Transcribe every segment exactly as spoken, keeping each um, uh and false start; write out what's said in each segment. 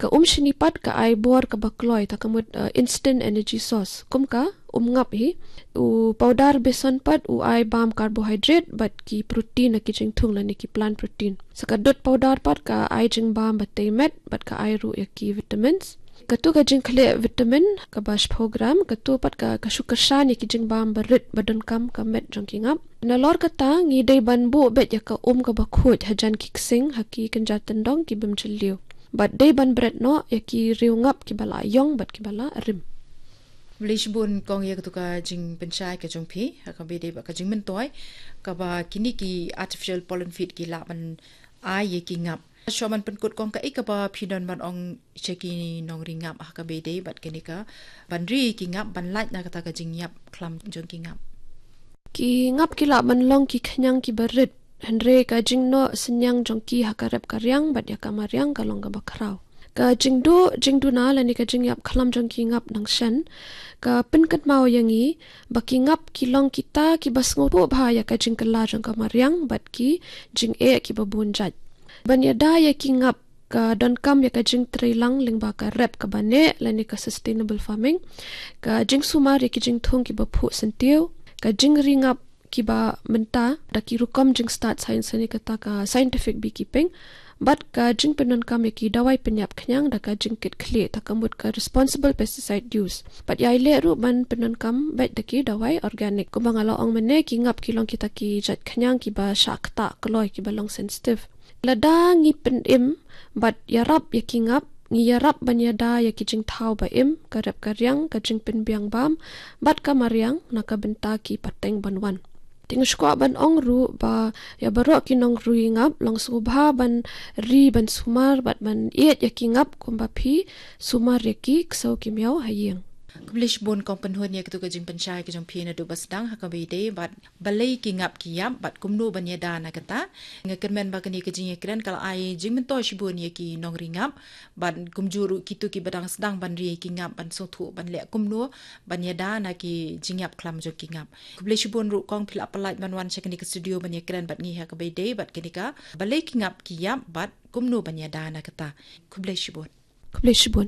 Ka um shini pat ka ai bor kaba kloi, ta ka mut, uh, instant energy source. Kum ka um ngap hi. U powder besan pat u ai bam carbohydrate bad ki protein na ki jingthung lane ki plant protein. Sa ka dud powder pat ka ai jingbam ba tei met bad ka ai ruh ïa ki vitamins. Katu ka jingkhleh vitamin kaba shiphew gram, katu pat ka, ka shu kyrshan ïa ki jingbam ba rit ba donkam ka met jong ki ngap. Nalor kata ngi dei ban buh beit ïa ka um kaba khuid hajan ki ksing ha ki kynja tyndong ki bym jylliew. Bad dei ban bret noh ïa ki riew ngap kiba la ïong bad kiba la rim. Khublei shibun kong ïa katu ka jingpynshai ka jong phi, ha kaba ïadei bad ka jingmyntoi kaba kine ki artificial pollen feed ki lah ban ai ïa ki ngap. Shuwa ban pynkut kong, kaei kaba phi don ban ong sha ki nongri ngap ha kaba ïadei bad kane ka ban ri ki ngap ban lait na kata ka jingïap khlam jong ki ngap. Ki ngap ki lah ban long ki khñiang kiba rit, hynrei ka jingnoh synñiang jong ki ha ka rep ka riang bad ïa ka mariang ka long kaba khraw. Ka jingduh jingduna lane ka jingïap khlam jong ki ngap dang shen ka pynkynmaw ïa ngi ba ki ngap ki long kita kiba sngewthuh bha ïa ka jingkylla jong ka mariang bad ki jingeh kiba bun jait. Ban ïada ïa ki ngap ka donkam ïa ka jingtreilang lyngba ka rep kaba neh lane ka sustainable farming, ka jingsumar ïa ki jingthung kiba phuh syntiew, ka jingri ngap kiba mynta da ki rukom jingstad science lane kata ka scientific beekeeping, bad ka jingpyndonkam ïa ki dawai pynïap khñiang da ka jingkitkhlieh, ta ka mut ka responsible pesticide use. Bad ïai leh ruh ban pyndonkam beit da ki dawai organic. Kumba nga la ong mynne, ki ngap ki long kita ki jait khñiang kiba shah ktah kloi, kiba long sensitive. Lada ngi pynim bad ïarap ïa ki ngap, ngi ïarap ban ïada ïa ki jingthaw ba im, ka rep ka riang, ka jingpynbiang bam bad ka mariang na ka bynta ki pateng ban wan. Te nga sngewkwah ban ong ruh ba ïa baroh ki nongri ngap long sngewbha ban ri ban sumar bad ban ïeit ïa ki ngap kumba phi sumar ïa ki ksew ki miaw ha ïing. Khublei shibun kong Pynhun ïa katu ka jingpynshai ka jong phi naduh ba sdang ha kaba ïadei bad balei ki ngap ki ïap bad kumno ban ïada na kata. Nga kyrmen ba kane ka jingïakren ka la ai jingmyntoi shibun ïa ki nongri ngap bad kumjuh ruh kito kiba dang sdang ban ri ki ngap ban sngewthuh ban leh kumno ban ïada na ki jingïap khlam jong ki ngap. Khublei shibun ruh kong phi la pyllait ban wan sha kane ka studio ban ïakren bad ngi ha kaba ïadei bad kane ka balei ki ngap ki ïap bad kumno ban ïada na kata. Khublei shibun. Khublei shibun.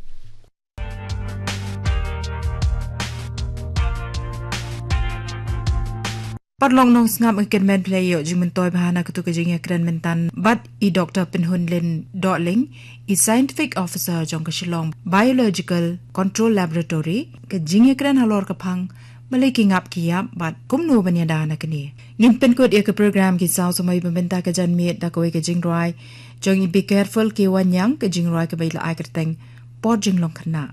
Paralok nongsngap, nga kyrmen phi la ïoh jingmyntoi bha na katu ka jingïakren mynta bad i Doctor Pynhunlin Dohling, i Scientific Officer jong ka Shillong Biological Control Laboratory, ka jingïakren halor ka phang balei ki ngap ki ïap bad kumno ban ïada na kane. Ngin pynkut ïa ka program Ki Saw Samoi ba mynta ka janmiet da kawei ka jingrwai jong i Be Careful K Wanniang, ka jingrwai kaba i la ai kyrteng Por Jinglong Khynnah.